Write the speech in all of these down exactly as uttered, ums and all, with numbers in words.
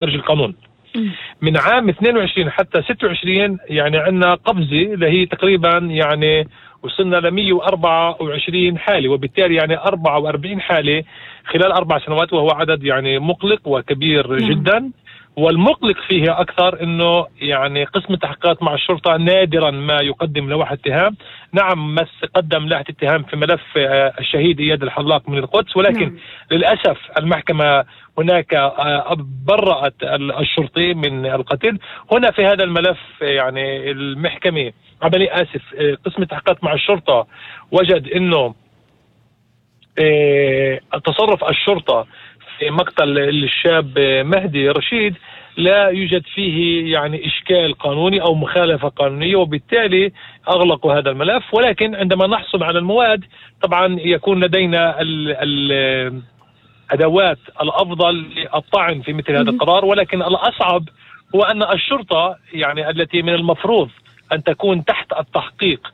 خارج القانون. من عام اثنين وعشرين حتى ستة وعشرين يعني عندنا قفزة اللي هي تقريبا يعني وصلنا ل مئة وأربعة وعشرين حالة، وبالتالي يعني أربعة وأربعين حالة خلال أربع سنوات، وهو عدد يعني مقلق وكبير جدا. والمقلق فيه أكثر أنه يعني قسم التحقيقات مع الشرطة نادرا ما يقدم لوحة اتهام. نعم مس قدم لوحة اتهام في ملف الشهيد إياد الحلاق من القدس، ولكن نعم. للأسف المحكمة هناك برأت الشرطي من القتل. هنا في هذا الملف يعني المحكمة عملي آسف قسم التحقيقات مع الشرطة وجد أنه تصرف الشرطة في مقتل الشاب مهدي رشيد لا يوجد فيه يعني إشكال قانوني أو مخالفة قانونية، وبالتالي أغلقوا هذا الملف. ولكن عندما نحصل على المواد طبعا يكون لدينا الأدوات الأفضل للطعن في مثل هذا القرار. ولكن الأصعب هو أن الشرطة يعني التي من المفروض أن تكون تحت التحقيق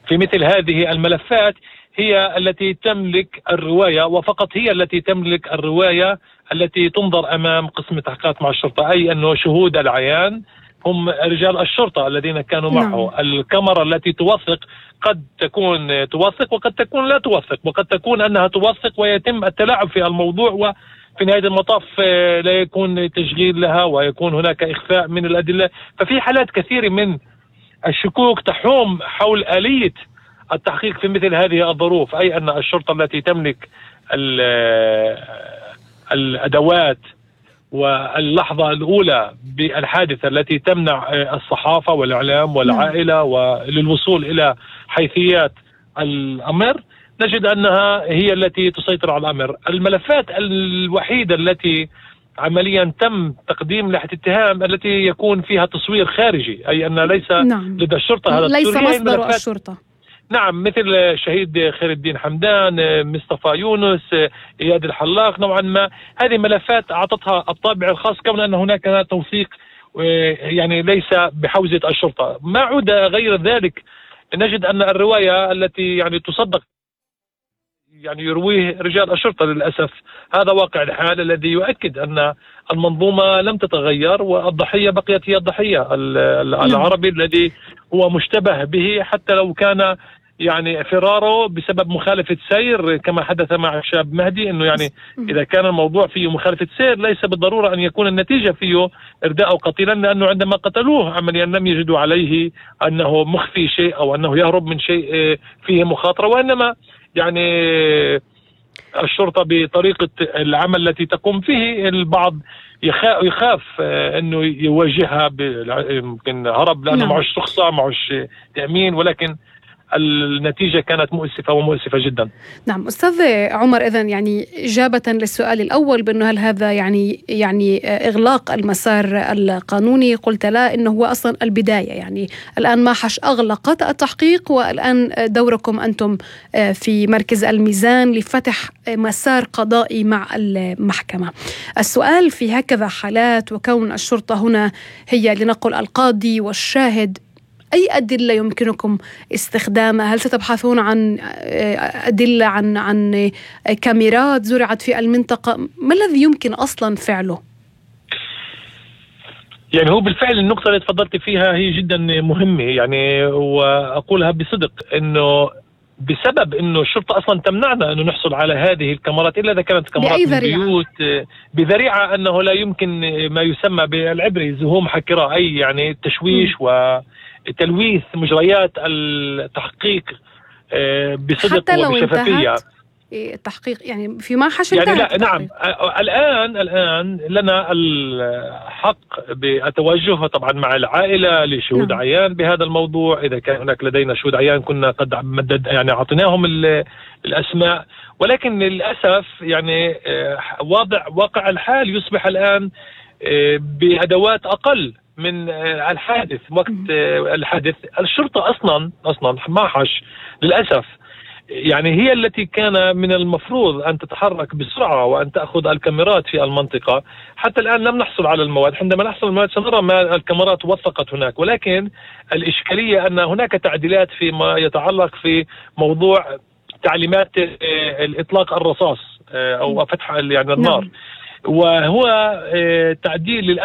في مثل هذه الملفات هي التي تملك الرواية، وفقط هي التي تملك الرواية التي تنظر أمام قسم التحقيقات مع الشرطة، أي أنه شهود العيان هم رجال الشرطة الذين كانوا معه. نعم. الكاميرا التي توثق قد تكون توثق وقد تكون لا توثق، وقد تكون أنها توثق ويتم التلاعب في الموضوع، وفي نهاية المطاف لا يكون تشغيل لها ويكون هناك إخفاء من الأدلة. ففي حالات كثيرة من الشكوك تحوم حول آلية التحقيق في مثل هذه الظروف، أي أن الشرطة التي تملك الأدوات واللحظة الأولى بالحادثة التي تمنع الصحافة والإعلام والعائلة وللوصول إلى حيثيات الأمر، نجد أنها هي التي تسيطر على الأمر. الملفات الوحيدة التي عمليا تم تقديم لوحة اتهام التي يكون فيها تصوير خارجي، أي أن ليس نعم. لدى الشرطة هذا ليس مصدر الشرطة. نعم، مثل شهيد خير الدين حمدان، مصطفى يونس، إياد الحلاق. نوعا ما هذه ملفات أعطتها الطابع الخاص كون أن هناك توثيق يعني ليس بحوزة الشرطة. ما عود غير ذلك نجد أن الرواية التي يعني تصدق يعني يرويه رجال الشرطة للأسف. هذا واقع الحال الذي يؤكد أن المنظومة لم تتغير، والضحية بقيت هي الضحية العربي الذي هو مشتبه به، حتى لو كان يعني فراره بسبب مخالفة سير كما حدث مع الشاب مهدي. انه يعني اذا كان الموضوع فيه مخالفة سير ليس بالضرورة ان يكون النتيجة فيه ارداء قتيلا، لانه عندما قتلوه عمليا لم يجدوا عليه انه مخفي شيء او انه يهرب من شيء فيه مخاطرة، وانما يعني الشرطة بطريقة العمل التي تقوم فيه البعض يخاف انه يواجهها يمكن هرب لانه معوش رخصة معوش تأمين، ولكن النتيجة كانت مؤسفة ومؤسفة جدا. نعم أستاذ عمر، إذن يعني إجابة للسؤال الأول بأنه هل هذا يعني يعني إغلاق المسار القانوني، قلت لا، إنه هو أصلا البداية. يعني الآن ماحش أغلقت التحقيق، والآن دوركم أنتم في مركز الميزان لفتح مسار قضائي مع المحكمة. السؤال في هكذا حالات وكون الشرطة هنا هي لنقل القاضي والشاهد، أي أدلة يمكنكم استخدامها؟ هل ستبحثون عن أدلة عن عن كاميرات زرعت في المنطقة؟ ما الذي يمكن أصلا فعله؟ يعني هو بالفعل النقطة اللي تفضلت فيها هي جدا مهمة، يعني وأقولها بصدق إنه بسبب إنه الشرطة أصلا تمنعنا إنه نحصل على هذه الكاميرات إلا إذا كانت كاميرات من بيوت بذريعة أنه لا يمكن ما يسمى بالعبري زهوم حكرة، أي يعني تشويش م. و تلويث مجريات التحقيق بصدق وبشفافية. التحقيق يعني في ماحش يعني لا نعم الآن الآن لنا الحق بالتوجه طبعا مع العائلة لشهود نعم. عيان بهذا الموضوع. إذا كان هناك لدينا شهود عيان كنا قد مدد يعني أعطيناهم الأسماء، ولكن للأسف يعني واضع واقع الحال يصبح الآن بأدوات أقل من الحادث. وقت الحادث الشرطة أصلا أصلا ماحش للأسف يعني هي التي كان من المفروض أن تتحرك بسرعة وأن تأخذ الكاميرات في المنطقة. حتى الآن لم نحصل على المواد، عندما نحصل على المواد سنرى ما الكاميرات وثقت هناك، ولكن الإشكالية أن هناك تعديلات فيما يتعلق في موضوع تعليمات الإطلاق الرصاص أو فتح يعني النار. وهو تعديل